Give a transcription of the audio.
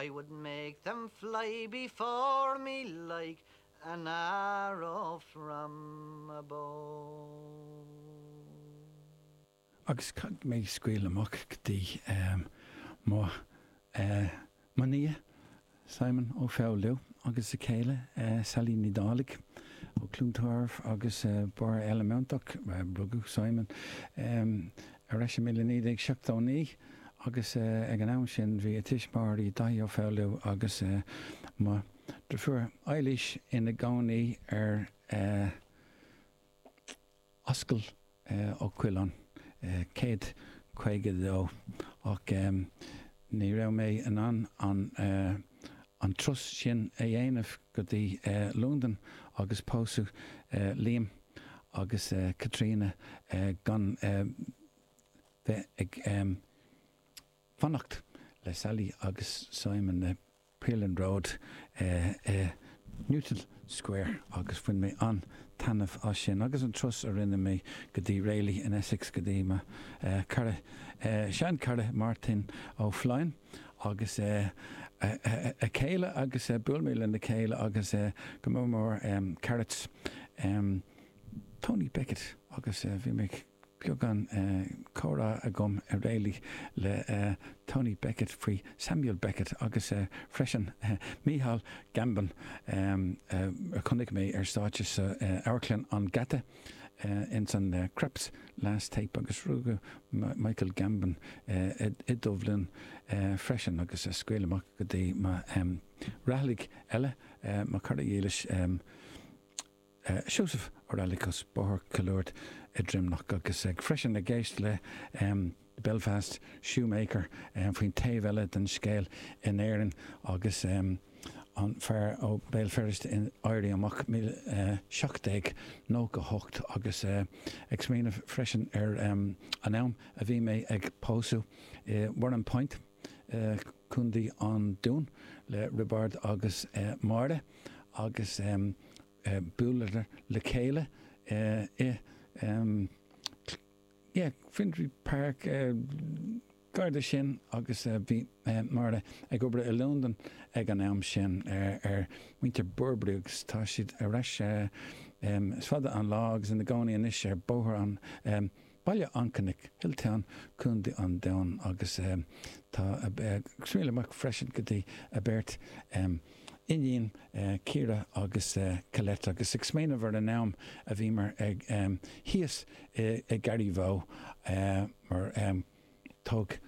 I would make them fly before me like an arrow from a bow. Agus caithfidh mé scaoileadh amach go dtí mo mo nia, Simon Ó Foghlú, agus a chéile, Sally Ní Dhálaigh, ó Chluain Tarbh agus Barr Eileamantach. Rugadh Simon ar ais i 1979 agus ag an am sin bhí a tuismitheoirí, Daithí Ó Foghlú agus mo dhrifiúr Eilís ina gcónaí ar Ascaill Ó Coileáin, 152, ach ní raibh mé in ann an turas sin a dhéanamh go dtí Londain agus pósadh Liam agus Caitríona gan bheith ag fanacht le Sally agus Simon i Pyrland Road i Newton Square agus bhain mé an-taitneamh as sin agus an turas a rinne mé go dtí Rayleigh in Essex go dtí mo chara, sean-chara Máirtín Ó Floinn agus a chéile agus bhuail mé lena chéile agus go mór mór Carrots Tony Beckett agus bhí mé beagán comhrá agam i Rayleigh le Tony Beckett faoi Samuel Beckett agus freisin Micheál Gambon a chonaic mé ar stáitse sa Amharclann an Gheata ins an Krapp's Last Tape agus rugadh Michael Gambon i Duibhlinn freisin agus scaoileadh amach go dtí mo Raghallaigh eile, mo chara dhílis. Seosamh Ó Raghallaigh as Bóthar Chill Ard i Droimneach agus ag freisin ag éist le Belfast Shoemaker faoin taobh eile den scéal in Éirinn agus an fear ó Béal Feirste in Éirí Amach 1798 agus ag smaoineamh freisin ar an am a bhí mé ag pósadh i Warrenpoint, Contae an Dúin le Roibeárd agus Máire agus buaileadar le chéile i yeah Finsbury Park gar do sin agus bhí Máire ag obair i Londain ag an am sin ar muintir Burberry agus tá siad ar ais is fada an lá agus ina gcónaí anois ar Bóthar an Baile an Chnoic, Hilltown, Contae an Dúin agus tá scaoileadh amach freisin go dtí a beirt iníon, Ciara agus Colette agus ag smaoineamh ar an am a bhíomar ag thíos i Garryvoe mar thóg.